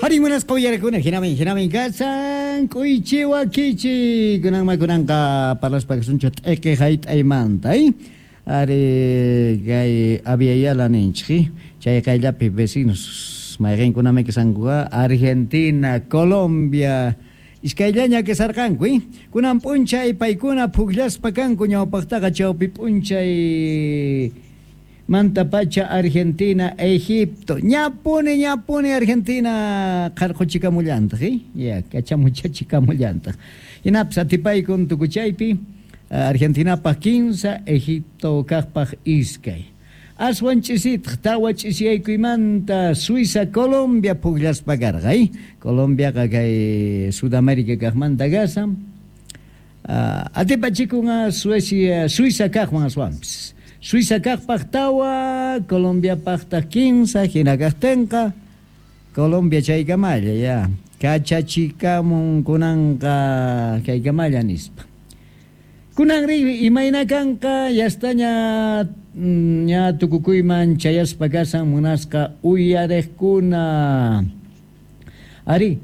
Hari munasqa uyarakuna hinamin hinamin kasan k'uychiwa kichi kunanma kunanqa parlaspa kasunchik t'iki hayt'aymanta ari kay Abya ninchik chay qayllapi vecinos mayqinkunami kasankuqa Argentina, Colombia iskayllaña kasarqanku kunan p'unchay paykuna pukllaspa kanku ñawpaqtaqa chawpi p'unchay manta pacha Argentina, Egipto ñapuni ñapuni Argentina qarquchikamullantaq ya kachamuchachikamulantaq hinapis atipaykun tukuchaypi Argentinapaq 15 Egipto kaqpaq iskay aswan ch'isitaq tawa ch'isiyaykuymanta Suiza Colombia pukllaspa karqa Colombiaqa kay Sudamérica kaqmanta kasan atipachikun Suecia Suiza kaqwan aswanpis Suiza kaqpaq tawa Colombiapaqtaq 15 hina kaqtinqa Colombia chaykamalla ya kachachikamun kunanqa kaykamalla nispa kunanri imayna kanqa yastaña ña tukukuyman chayaspa kasan munasqa uyariqkuna ari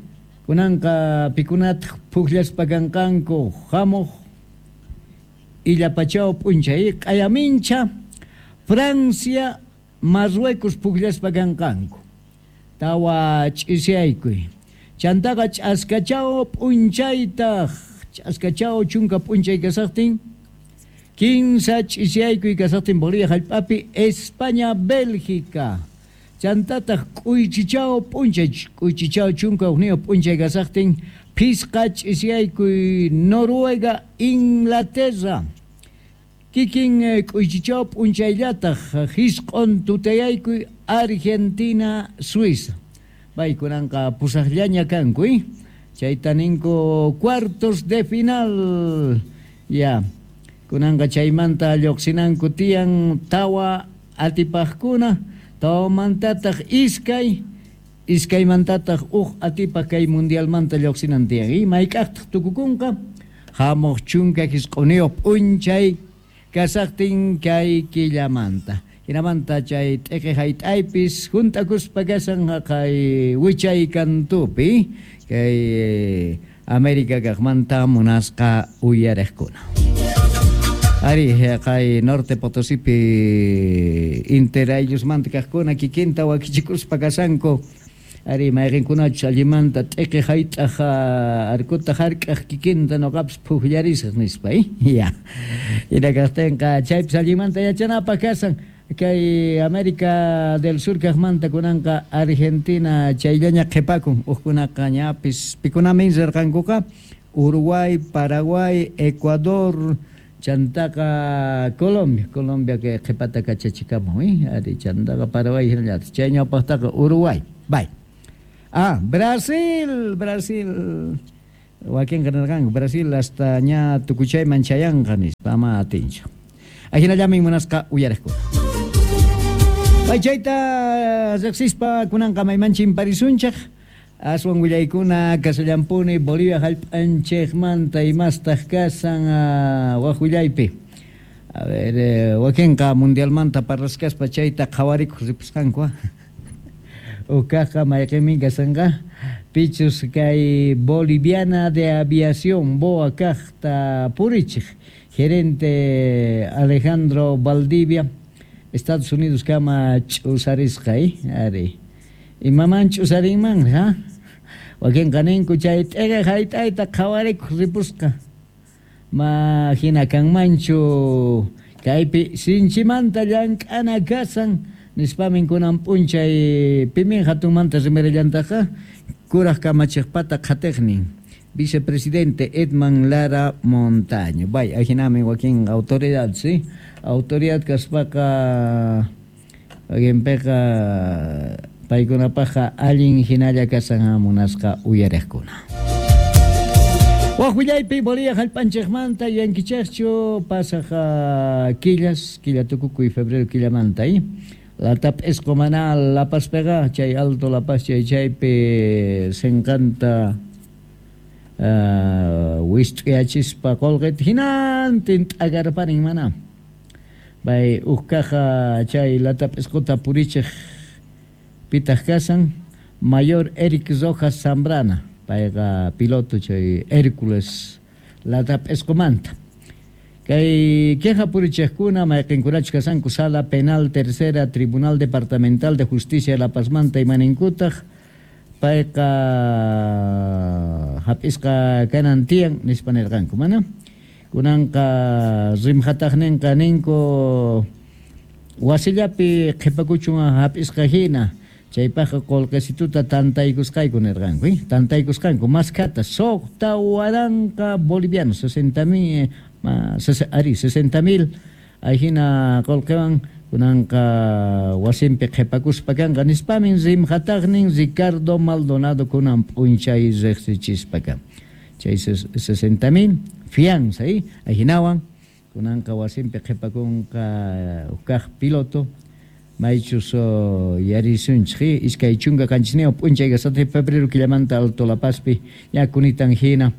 kunanqa pikunataq pukllaspa kanqanku hamuq illapachaw p'unchay q'ayamincha Francia Marruecos pukllaspa kanqanku tawa ch'isiyaykuy chantaqa ch'askachaw p'unchaytaq ch'askachaw chunka p'unchay kasaqtin kinsa ch'isiyaykuy kasaqtin Bolivia hallp'api España Bélgica chantataq k'uychichaw p'unchay k'uychichaw chunka hukniyuq p'unchay kasaqtin phisqa ch'isiyaykuy Noruega Inglaterra kikin k'uychichaw p'unchayllataq hisq'un tutayaykuy Argentina Suiza paykunanqa pusaqllaña kanku chayta ninku cuartos de final ya kunanqa chaymanta lluqsinanku tiyan tawa atipaqkuna tawamantataq iskay iskaymantataq huk atipaq kay mundialmanta lluqsinan tiyan mayk'aqtaq tukukunqa hamuq chunka hisq'uniyuq p'unchay kasaqtin kay killamanta hinamanta chay t'iqi hayt'aypis hunt'akuspa kasan haqay wichay kantupi kay América kaqmanta munasqa uyariqkuna ari kay Norte Potosipi interayllusmanta kaqkuna kikinta wakichikuspa kasanku ari mayqinkunachus allimanta t'iqi hayt'aq arkuta hark'aq kikinta nuqapis pukllarisaq nispa ya hina kaqtinqa chaypis allimanta yachanapaq kasan kay América del Sur kaqmanta kunanqa Argentina chayllaña qhipakun hukkunaqa ñapis pikunamin rirqankuqa Uruguay, Paraguay, Ecuador chantaqa Colombia, Colombia kay qhipata kachachikamun ari chantaqa Paraguay hinallataq chay ñawpaqtaqa Uruguay bay Brasil, Brasil wakinqa nirqanku Brasil hasta ña tukuchayman chayanqa nispa ama atinchu ajinallamin munasqa uyariqkuna Bay chayta riqsispa kunanqa mayman chimparisunchik aswan willaykuna kasallampuni Bolivia hallp'anchikmanta imastaq kasan wak willaypi a ver wakinqa mundialmanta parlasqaspa chayta qhawarikuq ripusqanku ukaqqa mayqinmin kasanqa pichus kay Boliviana de Aviación BOA kaqta purichiq gerente Alejandro Valdivia Estados Unidos kama ch'usarisqa ari imaman ch'usarinman ha wakinqa ninku chay t'iqi hayt'ayta qhawarikuq ripusqa ma hina kanmanchu kaypi sinchimanta llank'ana kasan nispamin kunan p'unchay pimin hatunmanta rimarillantaqa kuraq kamachiqpata qhatiqnin vicepresidente Edman Lara Montaño bay ajinamin wakin autoridad sí autoridad kaspaqa wakinpiqa paykunapaqqa allin hinalla kasan munasqa uyariqkuna wak willaypi Bolivia hallp'anchikmanta yankichikchu pasaq killas killa tukukuy febrero killamanta latap isqu mana Lapaspiqa chay Alto La Paz chay chaypi sinqanta wist'uyachispa qullqita hinantin t'akarparin mana bay huk kaqa chay latap isquta purichiq pitaq kasan Mayor Eric Rojas Zambrana, payqa piloto chay Hércules latap'isqumanta. Kay queja purichiqkuna mayqinkunachus kasanku Sala Penal Tercera Tribunal Departamental de Justicia de La Pazmanta imaninkutaq payqa hap'isqa kanan tiyan nispa nirqanku, mana? Kunanqa rimhataqninqa ninku wasillapi qhipakuchun hap'isqa hina, chaypaqqa qullqisituta tantaykusqayku nirqanku, tantaykusqanku maskhata 6000 bolivianos, 60,000, ari 60,000 ahina qullqiwan kunanqa wasinpi qhipakuspa kanqa nispamin rimhataqnin Ricardo Maldonado kunan p'unchay riqsichispa kan. Chay 60,000 fianza, ahinawan kunanqa wasinpi qhipakunqa kaq piloto maychus yarisunchik 27 p'unchay 7 de febrero killamanta Alto La Pazpi ña kunitan hina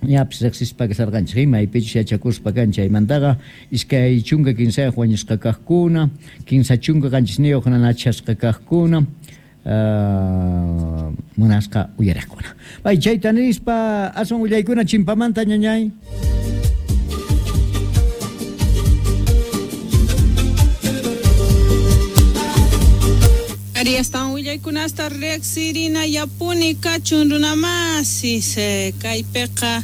ñapis riqsispa kasarqanchik, maypichus yachakuspa kan chaymantaqa 23 wañusqa kaqkuna, 37 nanachasqa kaqkuna, munasqa uyariqkuna. Pay chayta nispa aswan willaykuna chimpamanta ñañay. Ari astawan willaykunasta riqsirina yapuni kachun runamasis, kaypiqa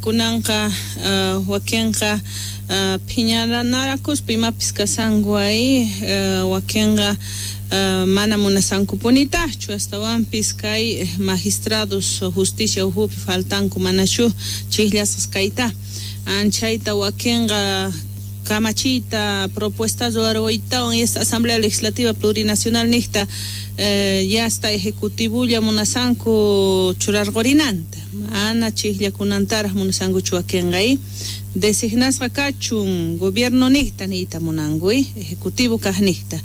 kunanqa wakinqa phiñanarakuspa imapis kasanku ahi, wakinqa mana munasankupunitaqchu astawanpis kay magistrados justicia ukhupi faltanku manachu chiqllasqas kayta anchayta wakinqa kamachiyta propuesta ruwaruytawan y esta Asamblea Legislativa Plurinacional niqta ya hasta ejecutivulla munasanku churarqurinanta mana chiqllakunantaraq munasankuchu wakinqa designasqa kachun gobierno niqta niyta munanku ejecutivo kaq niqta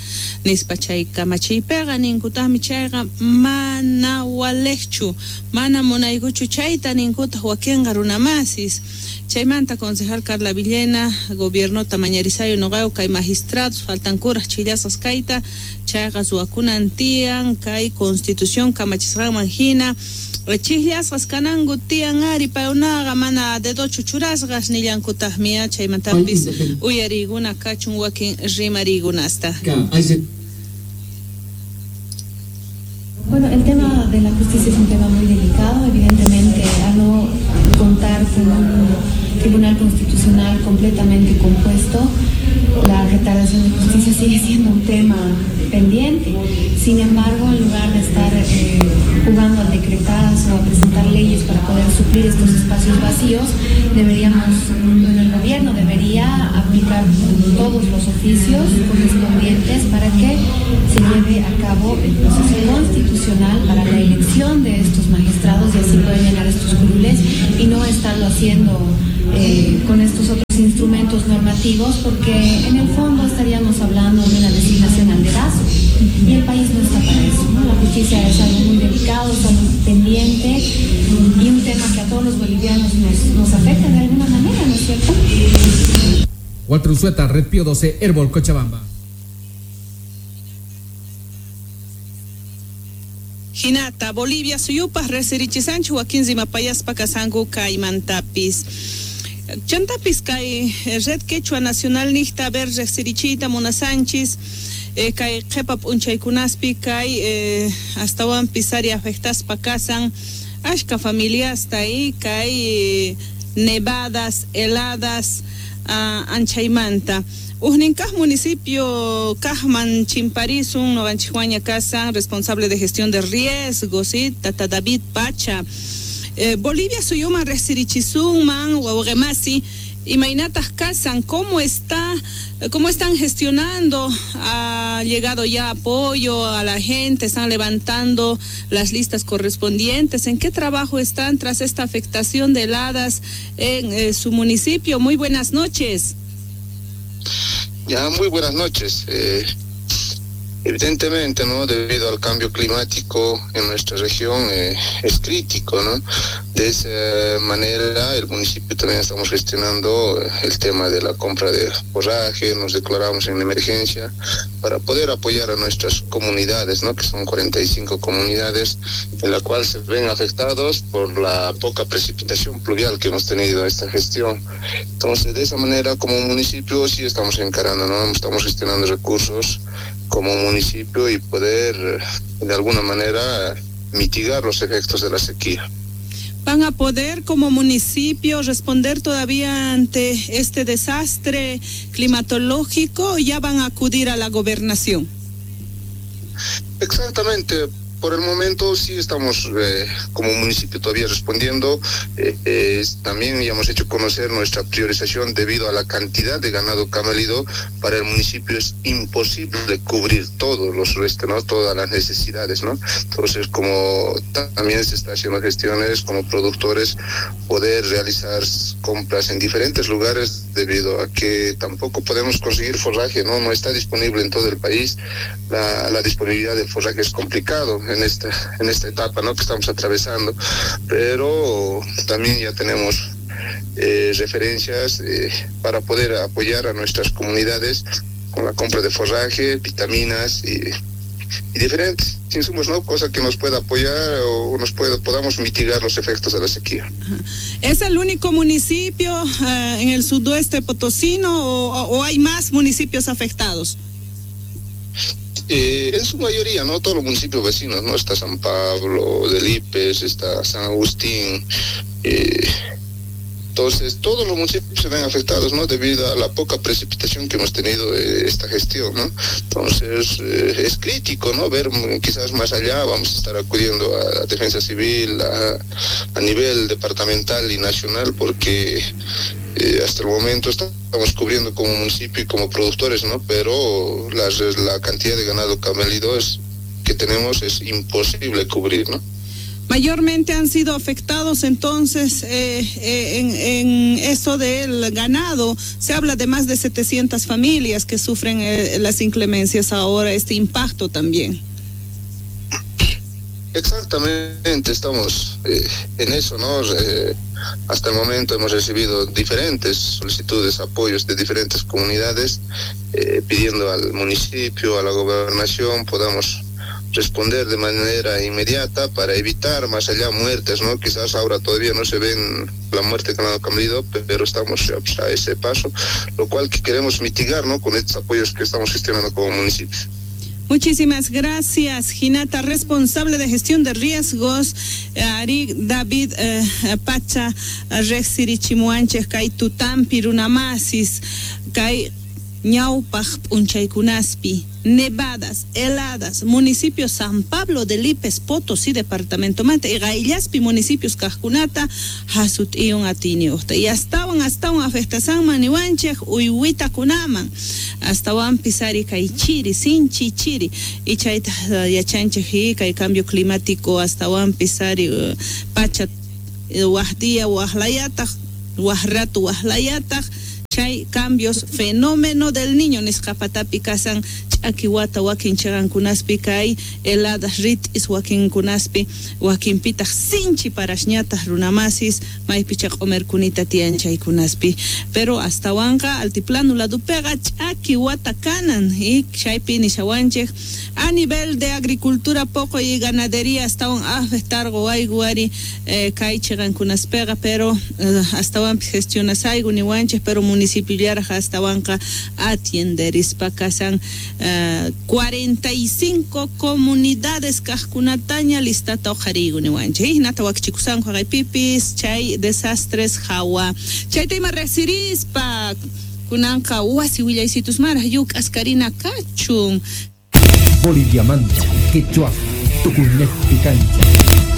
nispa chay kamachiypiqa ninkutaqmi chayqa mana waliqchu mana munaykuchu chayta ninkutaq wakinqa runamasis. Chaymanta concejal Carla Villena gobiernota mañarisayo noqayo kay magistrados faltankuraq chillasqas kayta chayqa ruwakunan tiyan kay constitución kamachisqanman hina chiqllasqas kananku tiyan ari paykunaqa mana dedochu churasqas nillankutaqmi chaymantapis uyariykuna kachun wakin rimariykunasta. Bueno, el tema de la justicia es un tema muy delicado, evidentemente, al no contar con un tribunal constitucional completamente compuesto, la retardación de justicia sigue siendo un tema pendiente. Sin embargo, en lugar de estar jugando al decretazo, a presentar leyes para poder suplir estos espacios vacíos, deberíamos, bueno, el gobierno debería aplicar todos los oficios correspondientes para que se lleve a cabo el proceso constitucional para la elección de estos magistrados y así poder llenar estos curules y no estarlo haciendo con estos otros instrumentos normativos, porque en el fondo estaríamos hablando de una designación al dedazo y el país no está para eso, ¿no? La justicia es algo muy delicado, es algo pendiente y un tema que a todos los bolivianos nos afecta de alguna manera, ¿no es cierto? Walter Usueta, Red Pío 12, Herbol, Cochabamba. Hinata, Bolivia, suyupaq riqsirichisanchik wakin rimapayaspa kasanku kaymantapis. Chantapis kay Red Quechua Nacional niqta ver riqsirichiyta munasanchis, kay qhipa p'unchaykunaspi kay astawanpis ari afectaspa kasan ashka familiasta y kay nevadas, heladas anchaymanta. Ujnin kaq municipio kaqman chimparisun noqanchikwaña kasan responsable de gestión de riesgos, ¿sí? Tata David Pacha. Bolivia suyuman riqsirichisunman wawqimasi imaynataq kasan, cómo están gestionando, ha llegado ya apoyo a la gente, están levantando las listas correspondientes, ¿en qué trabajo están tras esta afectación de heladas en su municipio? Muy buenas noches. Ya, muy buenas noches. Evidentemente, ¿no? Debido al cambio climático en nuestra región es crítico, ¿no? De esa manera, el municipio también estamos gestionando el tema de la compra de forraje, nos declaramos en emergencia para poder apoyar a nuestras comunidades, ¿no? Que son 45 comunidades en la cual se ven afectados por la poca precipitación pluvial que hemos tenido esta gestión. Entonces, de esa manera, como municipio, sí estamos encarando, ¿no? Estamos gestionando recursos como municipio y poder, de alguna manera, mitigar los efectos de la sequía. ¿Van a poder como municipio responder todavía ante este desastre climatológico o ya van a acudir a la gobernación? Exactamente. Por el momento sí estamos como municipio todavía respondiendo. También ya hemos hecho conocer nuestra priorización debido a la cantidad de ganado camélido. Para el municipio es imposible cubrir todos los restos, ¿no? Todas las necesidades, ¿no? Entonces, como también se está haciendo gestiones como productores, poder realizar compras en diferentes lugares debido a que tampoco podemos conseguir forraje, ¿no? No está disponible en todo el país. La disponibilidad del forraje es complicado en esta etapa, ¿no? Que estamos atravesando, pero también ya tenemos referencias para poder apoyar a nuestras comunidades con la compra de forraje, vitaminas y diferentes insumos, ¿no? Cosa que nos pueda apoyar o nos podamos mitigar los efectos de la sequía. ¿Es el único municipio en el sudoeste potosino o hay más municipios afectados? En su mayoría, ¿no? Todos los municipios vecinos, ¿no? Está San Pablo de Lipes, está San Agustín. Entonces, todos los municipios se ven afectados, ¿no? Debido a la poca precipitación que hemos tenido esta gestión, ¿no? Entonces, es crítico, ¿no? Ver quizás más allá, vamos a estar acudiendo a la Defensa Civil, a nivel departamental y nacional, porque hasta el momento estamos cubriendo como municipio y como productores, ¿no? Pero la cantidad de ganado camélido que tenemos es imposible cubrir, ¿no? Mayormente han sido afectados entonces en eso del ganado. Se habla de más de 700 familias que sufren las inclemencias ahora, este impacto también. Exactamente, estamos en eso, ¿no? Hasta el momento hemos recibido diferentes solicitudes, apoyos de diferentes comunidades, pidiendo al municipio, a la gobernación, podamos responder de manera inmediata para evitar más allá muertes, ¿no? Quizás ahora todavía no se ven la muerte de ganado camélido, pero estamos a ese paso, lo cual que queremos mitigar, ¿no? Con estos apoyos que estamos gestionando como municipio. Muchísimas gracias, Ginata, responsable de gestión de riesgos, Ari David Pacha, Rexirichimuanche, Kai Tutampi, Runamasis, Kai Ñaupaj, Punchaykunaspi, nevadas, heladas, municipio San Pablo de Lipes, Potosí, departamento Mante, y Gaillaspi, municipios Cajcunata, Hasutión, Atiniusta. Y hasta un afectasan manihuanchej, Uyhuita Kunaman, hasta un pisari Caichiri, Sinchi Chiri, y chaita yachanchej, y cambio climático, hasta un pisari Pacha, Huajdía, Huajlayata, Huajrato, Huajlayata, chay cambios, fenómeno del niño, nisqapatapi kasan ch'akiwata wakin chaqankunaspi kay heladas rit'is wakinkunaspi wakinpitaq sinchi parashñataq runamasis maypicha q'umirkunita tiyan chaykunaspi, pero astawanqa altiplano ladupiqa ch'akiwata kanan y chaypi nishawanchik a nivel de agricultura poco y ganadería astawan afectargo wayguari kay chaqankunaspiqa, pero astawanpis gestionasaygu niwanchik, pero municipio llaraj astawanqa atienderispa kasan 45 comunidades kajkunataña listata uqharigu niwanchik hinata wakichikusanku haqaypipis chay desastres hawa chayta ima resirispa kunanqa wasi willaysitus maraj yuk'askarina kachun. Boliviamanta, Quechua, Tucumán, Picancha.